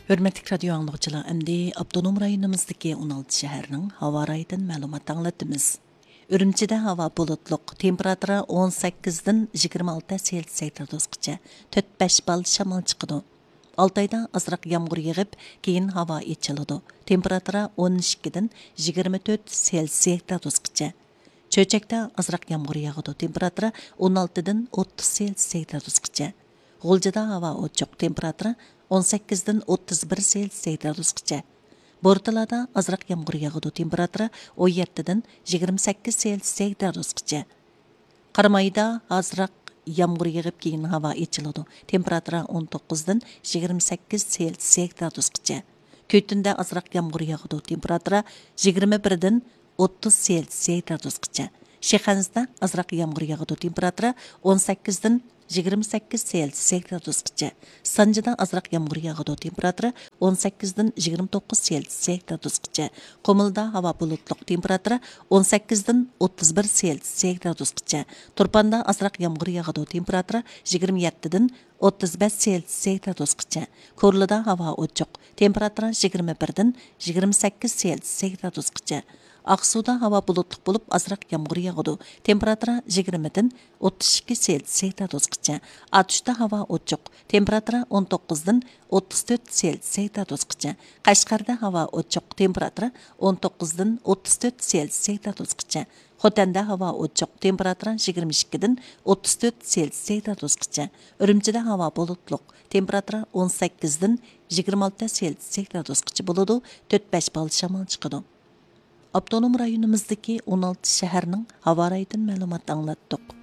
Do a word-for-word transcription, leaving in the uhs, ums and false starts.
ھۆرمەتلىك رادىيو ئاڭلىغۇچىلار، ئەمدى ئاپتونوم رايونىمىزدىكى ئون ئالتە شەھەرنىڭ ھاۋا رايىدىن مەلۇمات ئاڭلىتىمىز. ئۈرۈمچىدە ھاۋا بۇلۇتلۇق، تېمپېراتۇرا ئون سەككىزدىن يىگىرمە ئالتە سېلسىيەس گرادۇسقىچە، تۆت بەش بال شامال چىقىدۇ. ئالتايدا ئازراق يامغۇر يېغىپ، كېيىن ھاۋا ئېچىلىدۇ. تېمپېراتۇرا ئون ئىككىدىن يىگىرمە تۆت سېلسىيەس گرادۇسقىچە. چۆچەكتە ئازراق يامغۇر ياغىدۇ. تېمپېراتۇرا ئون ئالتىدىن ئوتتۇز سېلسىيەس گرادۇسقىچە. غۇلجىدا ھاۋا ئوچۇق. تېمپېراتۇرا ئون سەككىزدىن ئوتتۇز بىر سېلسىيەس گرادۇسقىچە. بورتالادا ئازراق يامغۇر ياغىدۇ. تېمپېراتۇرا ئون يەتتىدىن يىگىرمە سەككىز سېلسىيەس گرادۇسقىچە. قارامايدا ئازراق يامغۇر يېغىپ، كېيىن ھاۋا ئېچىلىدۇ. تېمپېراتۇرا ئون توققۇزدىن يىگىرمە سەككىز سېلسىيەس گرادۇسقىچە. كۈتۈندە ئازراق يامغۇر ياغىدۇ. تېمپېراتۇرا يىگىرمە بىردىن ئوتتۇز سېلسىيەس گرادۇسقىچە. شىخەنزىدە ئازراق يامغۇر ياغىدۇ. تېمپېراتۇرا ئون سەككىزدىن يىگىرمە سەككىز سېلسىيەس گرادۇسقىچە. سانجىدا ئازراق يامغۇر ياغىدۇ. تېمپېراتۇرا ئون سەككىزدىن يىگىرمە توققۇز سېلسىيەس گرادۇسقىچە. قۇمۇلدا ھاۋا بۇلۇتلۇق. تېمپېراتۇرا ئون سەككىزدىن ئوتتۇز بىر سېلسىيەس گرادۇسقىچە. تۇرپاندا ئازراق يامغۇر ياغىدۇ. تېمپېراتۇرا يىگىرمە يەتتىدىن ئوتتۇز بەش سېلسىيەس گرادۇسقىچە. كورلىدا ھاۋا ئوچۇق. تېمپېراتۇرا يىگىرمە بىردىن يىگىرمە سەككىز سېلسىيەس گرادۇسقىچە. ئاقسۇدا ھاۋا بۇلۇتلۇق بولۇپ، ئازراق يامغۇر ياغىدۇ. تېمپېراتۇرا يىگىرمىدىن ئوتتۇز ئىككى سېلسىيەس گرادۇسقىچە. ئاتۇشتا ھاۋا ئوچۇق. تېمپېراتۇرا ئون توققۇزدىن ئوتتۇز تۆت سېلسىيەس گرادۇسقىچە. قەشقەردە ھاۋا ئوچۇق. تېمپېراتۇرا ئون توققۇزدىن ئوتتۇز تۆت سېلسىيەس گرادۇسقىچە. خوتەندە ھاۋا ئوچۇق، تېمپېراتۇرا يىگىرمە ئىككىدىن ئوتتۇز تۆت سېلسىيەس گرادۇسقىچە. ئۈرۈمچىدە ھاۋا بۇلۇتلۇق، تېمپېراتۇرا ئون سەككىزدىن يىگىرمە ئالتە سېلسىيەس گرادۇسقىچە بولىدۇ، تۆت بەش بال شامال چىقىدۇ. ئاپتونوم رايونىمىزدىكى ئون ئالتە شەھەرنىڭ ھاۋا رايىدىن مەلۇمات ئاڭلاتتۇق.